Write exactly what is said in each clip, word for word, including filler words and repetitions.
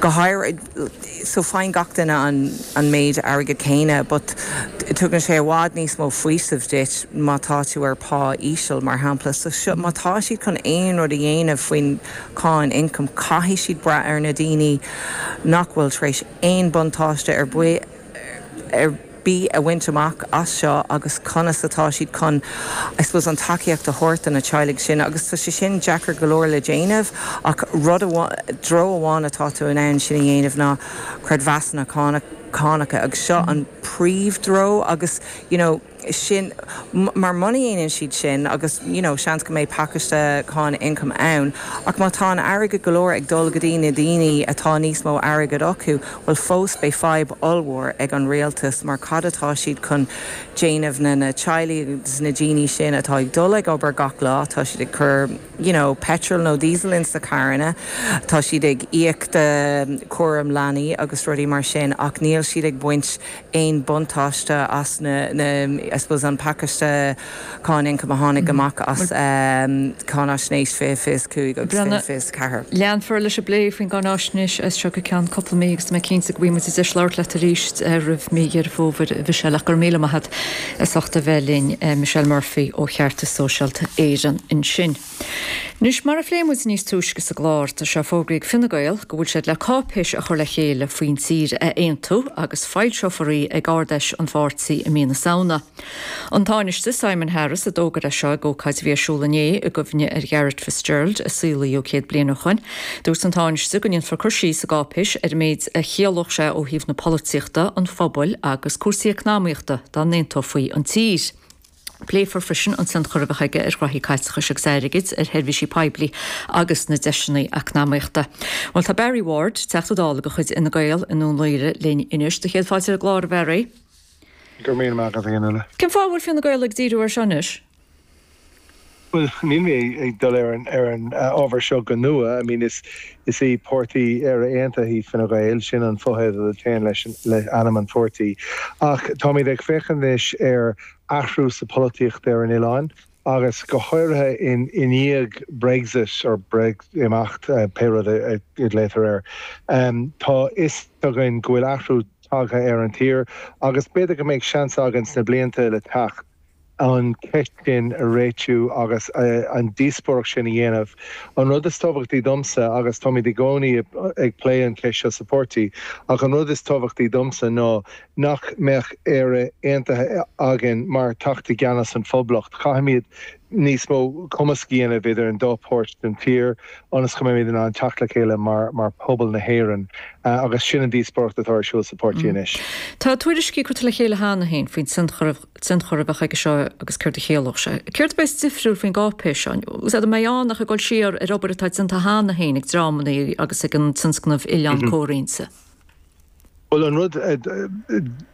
Go háirithe so faigheann gach duine an, an méid airgead céanna, but tugann sé i bhfad níos mó faoisimh duit má tá tú ar pá íseal mar shampla. So seo má tá siad chun aon rud a dhéanamh faoin cáin ioncaim caithfidh siad brath ar na daoine nach bhfuil tar éis aon buntáiste ar bith ar bith a bhaint amach as seo agus conas atá siad chun I suppose an tacaíocht a thabhairt do na teaghlaigh sin agus tá sé sin deacair go leor le déanamh ach rud treo amháin atá tú in ann sin a dhéanamh ná creidmheasanna cánacha agus seo an príomhthreo agus you know, sin mar muna ndéanann siad sin agus you know, seans go mbeidh pacáiste cáin ioncaim ann ach má tá an airgead go leor ag dul go dtí na daoine atá níos mó airgead acu, well fós beidh fadhb ollmhór ag an rialtas mar cad atá siad chun déanamh na na teaghlaigh agus na daoine sin atá ag dul ag obair gach lá, tá siad ag cur you know, petrol nó diesel in sa carranna, tá siad ag íoc de cúram leanaí agus rudaí mar sin ach níl siad ag baint aon buntáiste as na, na I suppose an pacáiste cáin ioncaim a tháinig amach as um, cáinaisnéis fiche fiche cúig agus fiche ceathair. Leanfar leis an bplé faoin gcáinaisnéis as seo go ceann cúpla mí agus mé cinnte go mbeidh muid deis labhairt leat arís roimh mí Dheireadh Fómhair Michelle ach gur míle maith agat as ucht a bheith linn Michelle Murphy ó Cheartas Sóisialta Éireann ansin. Anois mar a phléigh muid níos túisce sa gclár tá sé fógraithe ag Fine Gael go bhfuil siad le cáipéis a chur le chéile faoin tír a aontú agus foilseofar í ag Ard-Fheis an pháirtí i mí na Samhna. An Tánaiste Simon Harris a d'fhógair é seo ag ócáid a bhí ar siúl inné i gcuimhne ar Gharret Fitzgerald a saolaíodh céad bliain ó shin. Dúirt an Tánaiste go ndéanfar cur síos sa gcáipéis ar an méid a chiallódh sé ó thaobh na polaitíochta, an phobail agus cúrsaí eacnamaíochta dá n-aontófaí an tír. Pléifear freisin an tionchar a bheadh aige ar ghraithí caiteachais agus airgid ar sheirbhísí poiblí agus na deiseanna eacnamaíochta. Well tá Barry Ward Teachta Dála de chuid Fhine Gael i nDún Laoghaire linn anois do chéad fáilte ar an gclár a Bharry. Gur mí a Cén fáth bhfuil Fine Gael ag díriú ar seo anois? Well níl mé ag dul ar an ar an ábhar seo go nua, I mean is is í páirtí Éire Aontaithe Fine Gael sin an fotheideal a théann leis le ainm an pháirtí. Ach táimid ag féachaint anois ar athrú sa pholaitíocht ar an oileán agus go háirithe in i ndiaidh Brexit or Breatimeacht uh, pé rud a léitear air. Um, tá a fhios againn go bhfuil athrú tagtha ar an tír agus b'fhéidir go mbeidh seans againn sna blianta le teacht an ceist sin a réitiú agus uh, an díospóireacht sin a dhéanamh. An rud is tábhachtaí domsa agus táimid i gcónaí ag plé an cheist seo sa pháirtí, ach an rud is tábhachtaí domsa ná nach mbeadh Éire aontaithe againn mar teacht i gceannas an Phoblacht. Caithfimid níos mó cumasc a dhéanamh idir an dá pháirt den tír ionas go mbeimid in ann teacht le chéile mar mar pobal na hÉireann uh, agus sin an díospóireacht atá ar siúl sa pháirtí anois. Tá tuairiscí curtha le chéile cheana féin faoin tionchar a bheadh aige seo agus céard a chiallódh sé. Céard a bheas difriúil faoin gcáipéis seo, Úsáid mé an ach ag dul siar ar obair atá déanta cheana féin ag dreamanna agus ag an tionscnamh Oileán mm -hmm. Comhroinnte. Well an rud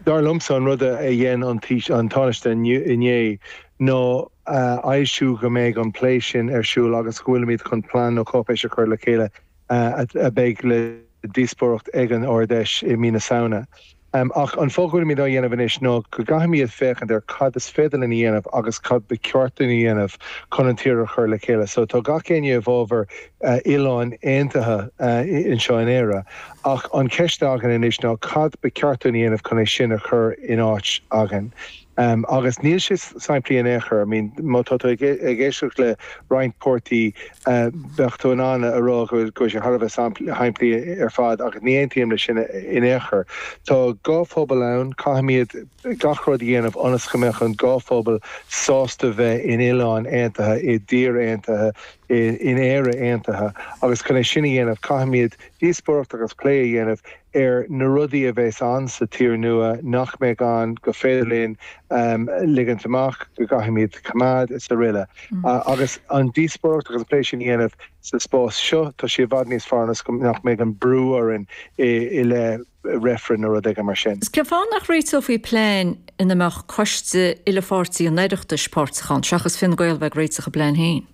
dar liomsa an rud a dhein an an Tánaiste inné ná aimsiú go mbeidh an plé sin ar siúl agus go bhfuilimid chun plean nó cáipéis a chur le chéile a bheidh le díospóireacht ag an Ard-Fheis i mí na Samhna. Um, ach an fáth go bhfuilimid á dhéanamh anois ná go gcaithfimid féachaint ar cad is féidir linn a dhéanamh agus cad ba cheart dúinn a dhéanamh chun an tír a chur le chéile. So tá gach éinne i bhfabhar uh, oileán aontaithe uh, anseo in Éire. Ach an ceist againn anois ná cad ba cheart dúinn a dhéanamh chun é sin a chur in áit againn. Um, agus níl sé simplí in aon chor, I mean, má tá ag éisteacht le roinnt páirtí uh, bheadh tú in ann a rá go sé thar a bheith simplí ar fad agus ní aontaím le sin in aon chor. Tá dhá phobal ann caithfimid gach rud a dhéanamh ionas go mbeadh an dá phobal sásta bheith in oileán aontaithe i dtír aontaithe in Éire aontaithe agus chun é sin a dhéanamh caithfimid díospóireacht agus plé a dhéanamh ar na rudaí a bheas ann sa tír nua nach mbeidh ann go féidir linn um, ligint amach go gcaithfimid coimeád is araile. Mm. Uh, agus an díospóireacht agus plé sin a dhéanamh sa spás seo tá sé i bhfad níos fearr nach mbeidh an brú orainn i, i le reifreann nó rud mar sin. Is cén fáth nach réiteofaí plean ina mbeadh coiste uile-pháirtí an Oireachtais páirteach ann, seachas Fine Gael bheith ag réiteach a bplean féin.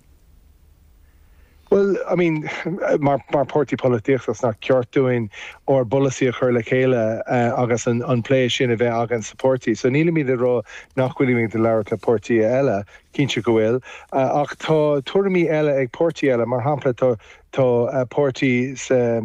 Well, I mean mar mar páirtí polaitíochta nach ceart dúinn ár bpolasaí a chur le chéile uh, agus an, an plé sin a bheith againn sa pháirtí. So nílimid ag rá nach bhfuilimid ag labhairt le páirtí eile cinnte go bhfuil, uh, ach tá tuairimí eile ag páirtí eile mar shampla tá Tá páirtí sa